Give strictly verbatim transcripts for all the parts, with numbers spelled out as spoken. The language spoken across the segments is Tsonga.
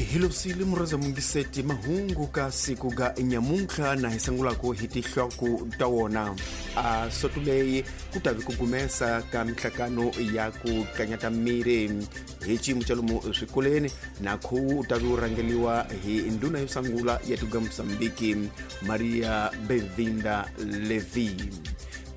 Hilosile mureza mungiseti mahungu ka siku ga nyamuntlha na hi sangulako hi tihloko ta wona. A sotuleyi ku tavi ku gumesa ka mihlakano ya ku tlanyata miri hi xiyimo xa lomu swikolweni na khuwu u tavi wu rhangeliwa hi ndhuna yo sangula ya tiko ra Mozambique Maria Benvinda Levi.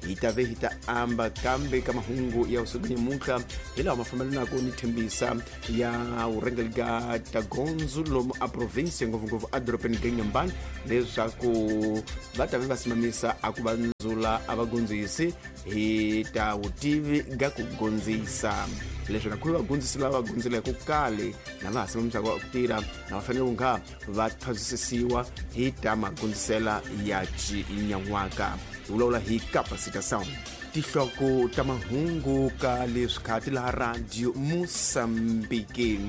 Hi ta ve hi ta amba kambe ka mahungu ya usiku nyamuntlha hi lawa ma fambelanaka ni thembisa ya vurhangeri ga tagondzo lomu a province ngopfungopfu edorobeni ga Inhambane leswaku va ta ve va simamisa a ku va ndzula a va gondzisi hi ta vutivi ga ku gondzisa leswi na khuvi vagondzisi lava va gondzileke kale na va ha simamisaka ku tirha na va fanele ku nga va thwasisiwa hi ta magondzisela ya xinyan'waka. Hi vulavula hi capacitação. Tihloko ta mahungu ka leswi khati laha Radio Mozambique.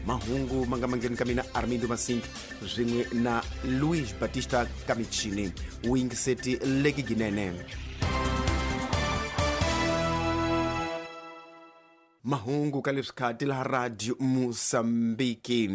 Mahungu ma nga mangheni ka mina Armindo Masink swin'we na Luis Batista Kamichini. Wu yingiseti leki ginene. Mahungu ka leswi khati laha Radio Mozambique.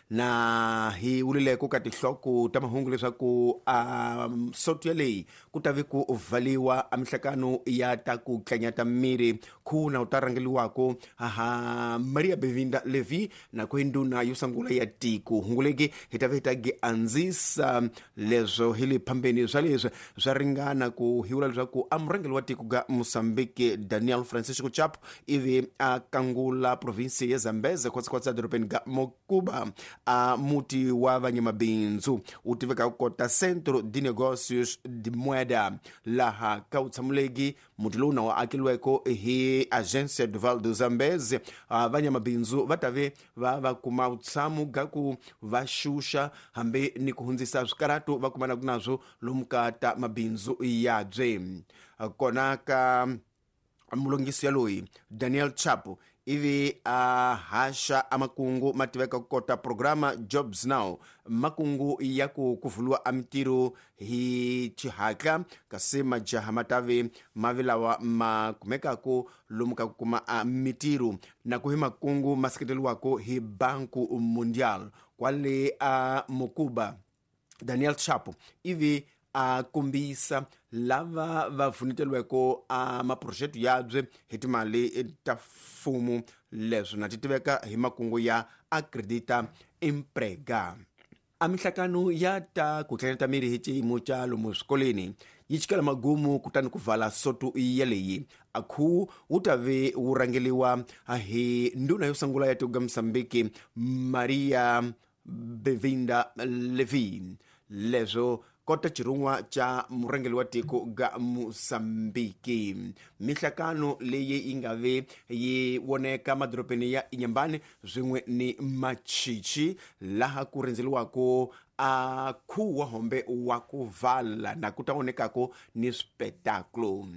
Na hi vulileko ka tihloko ta mahungu leswaku a soto yaleyi ku ta vi ku valiwa a mihlakano ya ta ku tlanyata miri khuna u ta rhangeliwako ha Maria Benvinda Levi na ku ndhuna yo sungula ya tiko. Hunguleki hi ta vi hi ta gi andzisa leswo hi le phambeni swa leswi swa ringana ku hi vula leswaku a murhangeri wa tiko ga Mozambique Daniel Francisco Chapo ivi a kangula provinsi ya Zambeze khwatsi-khwatsi edorobeni ga Mocuba a muti wa vanyamabindzu wu tiveka ku kota Centro de Negócios de Moeda laha ka wutshamuleki muti lowu na wu akeliweko hi Agência do Vale do Zambeze. Vanyamabindzu va ta ve va va kuma vutshamo ga ku va xuxa hambi ni ku hundzisa swikaratu va kumanaka nazwo lomu ka ta mabindzu yabye. Kona ka mulongisi yaloyi Daniel Chapo ivi a haxa a makungu ma tiveka ku kota programa Jobs Now, makungu ya ku kuvuliwa a mitirho hi xihatla kasi majaha ma tave mavi lawa ma kumekaka lomu ka ku kuma a mitirho na ku hi makungu ma seketeriwaka hi Banco Mundial kwale a Mocuba. Daniel Chapo ivi a kombisa lava va pfuneteliweko a maproject yabye hi timali ta mfumo leswi na ti tiveka hi makungu ya Acredita Emprega. A mihlakano ya ta ku tlanyata miri hi xiyimo xa lomu swikolweni yi chikela magumu kutani ku vala soto yaleyi. A khuwu wu ta ve wu rhangeliwa hi ndhuna yo sungula ya tiko ra Mozambique Maria Benvinda Levi leswo kota xirhun'wa xa murhangeri wa tiko ga Mozambique. Mihlakano leyi yi nga ve yi voneka madorobeni ya Inhambane swin'we ni Machichi laha ku rindzeliwaka a khuwu wa hombe wa ku vala na ku ta vonekako ni swipetakulo.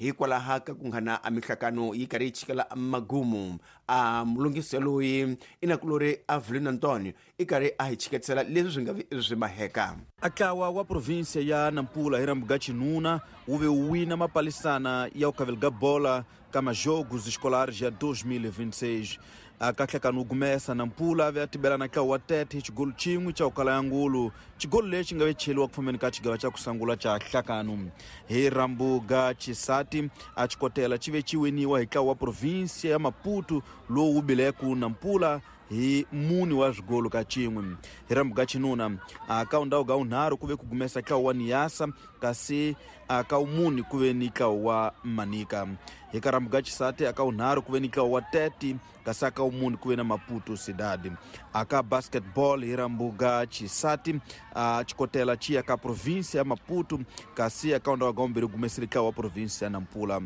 Hikwalaho ka ku nghana a mihlakano yi karhi yi chikela magumu a mulungisi loyi i nakulori Avelino Antonio i karhi a hi chiketisela leswi swi nga vi swi maheka. A ntlawa wa provinsia ya Nampula hi rambu ga xinuna wu ve wu wina mapalisana ya ku khavela ga bola ka majogos escolares ya dois mil e vinte e seis. A kahlekano wu gumesa Nampula a ve a tibela na ntlawa wa Tete hi xigolo xin'we xa ku kala ya ngulu, xigolo lexi nga ve cheliwa ku fambeni ka xigava xa ku sungula xa nhlakano. Hi rambu ga xisati a xikotela xi ve xi winiwa hi ntlawa wa provinsia ya Maputo lowu wu bileku Nampula hi mune wa swigolo ka xin'we. Hi rambu ga xinuna a ka ndhawu ga wunharhu ku ve ku gumesa ntlawa wa Niassa kasi a ka wumune ku ve ni ntlawa wa Manica. Hi ka rambu ga xisati a ka wunharhu ku ve ni ntlawa wa Tete kasi a ka wumune ku ve na Maputo Cidade. A ka basketball hi rambu ga xisati a xikotela xi ya ka provinsia ya Maputo kasi a ka ndhawu ga vumbirhi gumesile ntlawa wa provinsia ya Nampula.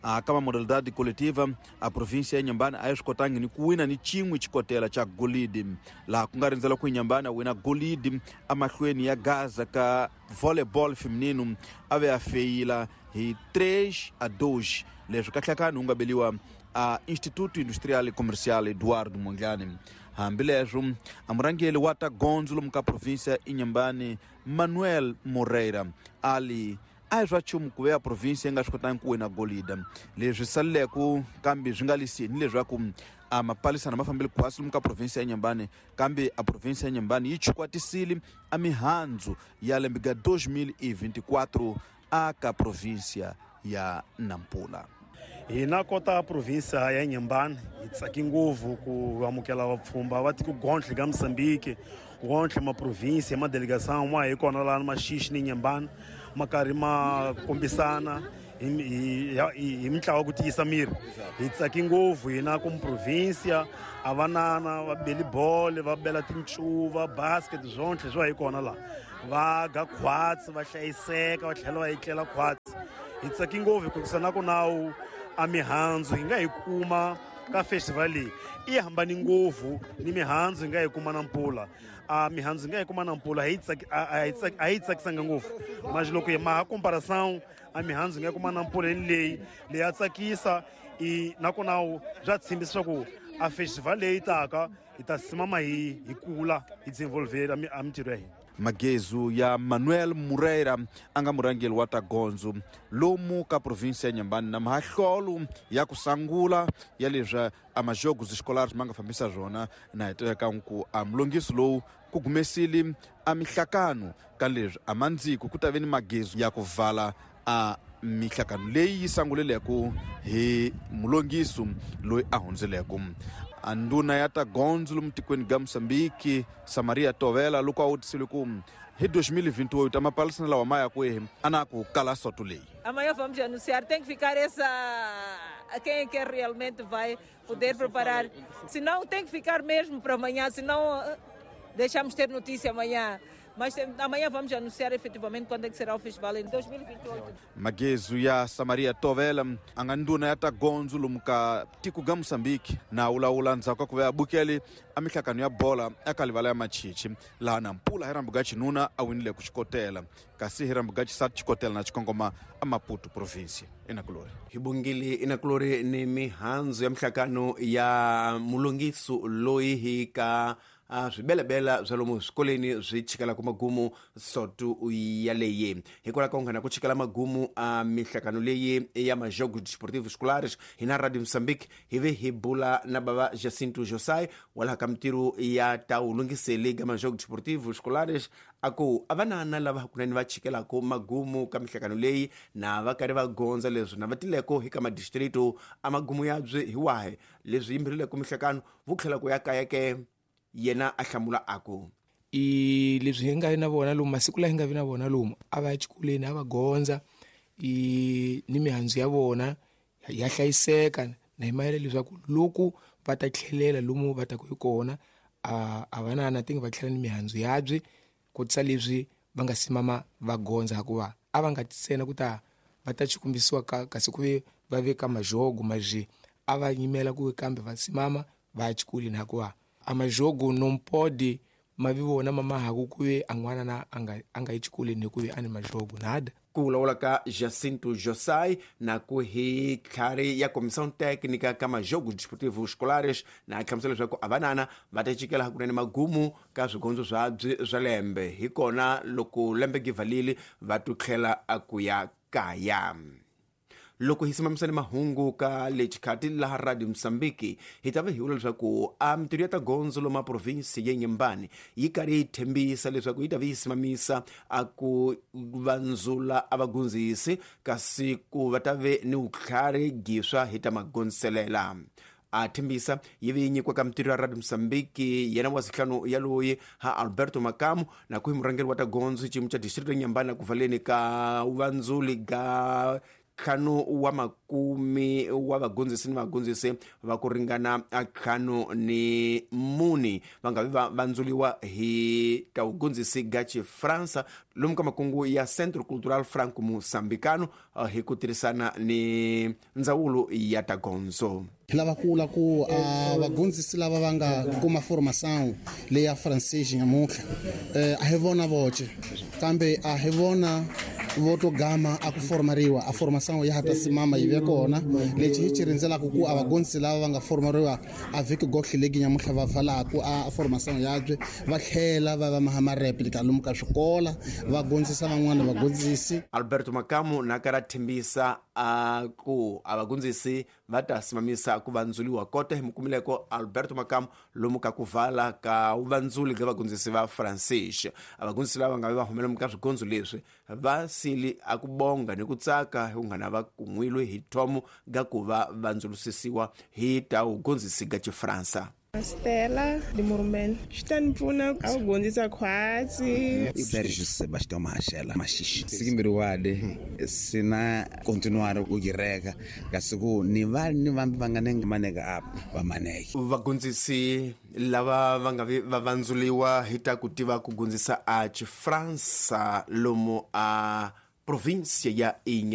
A ka modalidade coletiva a província ya Inhambane a yi swi kotangi ni ku wina ni xin'we xikotela xa golidi laha ku nga rindzela ku Inhambane a wina golidi emahlweni ya Gaza ka volleyball feminino a ve a feyila hi três a dois leswi kahlekani wu nga beliwa a Instituto Industrial e Comercial Eduardo Mondlane. Hambileswo a murhangeri wa ta gondzo lomu ka província ya Inhambane Manuel Moreira ali a hi swa nchumu ku ve ya province yi nga swi kotangi ku wina golida leswi saleleke kambe swi nga liseni leswaku a mapalisana ma fambile khwasi lomu ka provinsia ya Inhambane kambe a provinsia ya Inhambane yi chukwatisile a mihandzu ya lembe ga dois mil e vinte e quatro a ka provinsia ya Nampula. Hina kota provinsia ya Inhambane hi tsaki ngopfu ku amukela vapfhumba va tiko gontlhe ka Mozambique gontlhe ma provinsia ma delegação ma hi kona laha Maxixi ni Inhambane ma karhi ma kombisana hi hi mintlawa ku tiyisa miri. Hi tsaki ngopfu hina ku provinsia a vanana va beli bolo va bela tincuva basket swontlhe swa hi kona laha va ga khwatsi va hlayiseka va tlhela va etlela khwatsi. Hi tsaki ngopfu hikuva na ku nawu a mihandzu hi nga hi kuma ka festival leyi i hambani ngopfu ni mihandzu hi nga hi kuma Nampula. A mihandzu hi nga hi kuma Nampula a yi tsakisanga ngopfu mas loko hi maha comparação a mihandzu hi nga kuma Nampula ni leyi leyi ya tsakisa i nakona bya tshembisa swa ku a festival leyi taka hi ta simama hi hi kula hi desenvolver a mintirho ya hina. Magezu ya Manuel Moreira a nga murhangeri wa ta gondzo lomu ka provinsia ya Inhambane na mahlolo ya ku sangula ya leswi a majogos escolares ma nga fambisa swona na hi tiveka ku a mulongiso lowu ku gumesile a mihlakano ka leswi a mandziko ku ta ve ni magezu ya ku vala a mihlakano leyi yi sanguleleko hi mulongiso loyi a hundzeleko. A nduna ya ta gondzo lomu tikweni ga Mozambique Samaria Tovela loko a vutisile ku hi dois mil e vinte e oito a mapalisana lawa ma ya kwihi a na ku kala soto leyi. Amanhã vamos anunciar, tem que ficar essa quem é que realmente vai poder preparar, senão tem que ficar mesmo para amanhã, senão deixamos ter notícia amanhã. Mas amanhã vamos anunciar efetivamente quando é que será o festival em dois mil e vinte e oito. Magezu ya Samaria Tovela a nga nduna ya ta gondzo lomu ka tiko ga Mozambique na wulawula ndzhaku ka ku va ya bukele a mihlakano ya bola eka livala ya Machichi laha Nampula hi rambu ga xinuna a winile ku xikotela kasi hi rambu ga xisati xikotela na xikongoma a Maputo provinsia Inakulori. Hi bongile Inakulori ni mihandzu ya mihlakano ya mulongiso loyi hi ka a swibelebela swa lomu swikolweni swi chikelaka magumu sotu yaleyi. Hikwalaho ka ku nghena ku chikela magumu a mihlakano leyi ya majogos desportivos escolares hina Radio Mozambique hi ve hi bula na bava Jacinto Josai walaha ka mintirho ya ta wulungiseli ka majogos desportivos escolares a ku a vanana lava hakunene va chikelaka magumu ka mihlakano leyi na va karhi va gondza leswi na va tileko hi ka madistrito a magumu yabyi hi wahi leswi yimberileko mihlakano vu tlhela ku ya kaya ke. Yena a hlamula a ku i leswi hi nga na vona lomu masiku laha hi nga vi na vona lomu a va ya xikolweni a va gondza i ni mihandzu ya vona ya hlayiseka na hi mayela leswaku loko va ta tlhelela lomu va ta ku hi kona a a va na na tingi va tlhela ni mihandzu yabyi kotisa leswi va nga simama va gondza hikuva a va nga tsena ku ta va ta xikombisiwa ka kasi ku ve va veka majogo maje a va yimela ku kambe va simama va ya xikolweni hikuva a majogo não pode ma vi vona mama haku ku ve a n'wana na a nga a nga yi xikolweni hi ku ve a ni majogo nada. Ku vulavula ka Jacinto Josai na ku hi tlhari ya comissão técnica ka majogos desportivos escolares na hlamusela leswaku a vanana va ta chikela hakunene magumu ka swigondzo swabyi swa lembe hi kona loko lembe givalile va tu tlhela a ku ya kaya. Loko hi simamisane mahungu ka lexikati laha Radio Mozambique hi ta va hi vula leswaku a mintirho ya ta gondzo loma provinsi ya Inhambane yi karhi yi tshembisa leswaku yi ta va yi simamisa a ku vandzula a vagondzisi kasi ku va ta ve ni vutlhari giswa hi ta magondziselela. A tshembisa yi ve yi nyikiwa ka mintirho ya Radio Mozambique yena wa sihlanu ya loyi ha Alberto Makamu na ku hi murhangeri wa ta gondzo xiyimo xa distrito ya Inhambane na ku valeni ka vandzuli ga ntlhanu wa makumi wa vagondzisi ni vagondzisi va ku ringana ntlhanu ni muni va nga vi va vandzuliwa hi ta vugondzisi ga Xifransa lomu ka makungu ya Centro Cultural Franco Moçambicano hi ku tirhisana ni ndzawulo ya ta gondzo. Hi lava ku vula ku a vagondzisi lava va nga kuma formação leya francês nyamuntlha a hi vona voce kambe a hi vona vo to gama a ku formariwa a formação ya ha ta simama yi ve kona lexi hi xi rindzelaka ku a vagondzisi lava va nga formariwa a vhiki gotlhe legi nyamutlha va valaku a formação yabye va tlhela va va maha mareplika lomu ka swikola va gondzisa van'wana vagondzisi. Alberto Makamu na kara thembisa a ku a vagondzisi va ta simamisa ku vandzuliwa kota hi mukumileko Alberto Makamu lomu ka ku vala ka vandzuli ga vagondzisi va Francis. A vagondzisi lava nga va humela ka swigondzo leswi va sili a ku bonga ni ku tsaka hi unghana va kun'wilwe hi thomo ga ku va vandzulusisiwa hi ta ugondzisi ga Xifransa. Stella de Mormel xi ta ni pfuna a ku gondzisa khwatsi. Sergio Sebastião Machela Maxixe sikimbiriwade sina continuar ku gireka kasi ku ni va ni vambi va nga nenge maneka apa va maneke. Vagondzisi lava va nga va vandzuliwa hi ta ku tiva ku gondzisa a Xifransa lomu a província ya Inha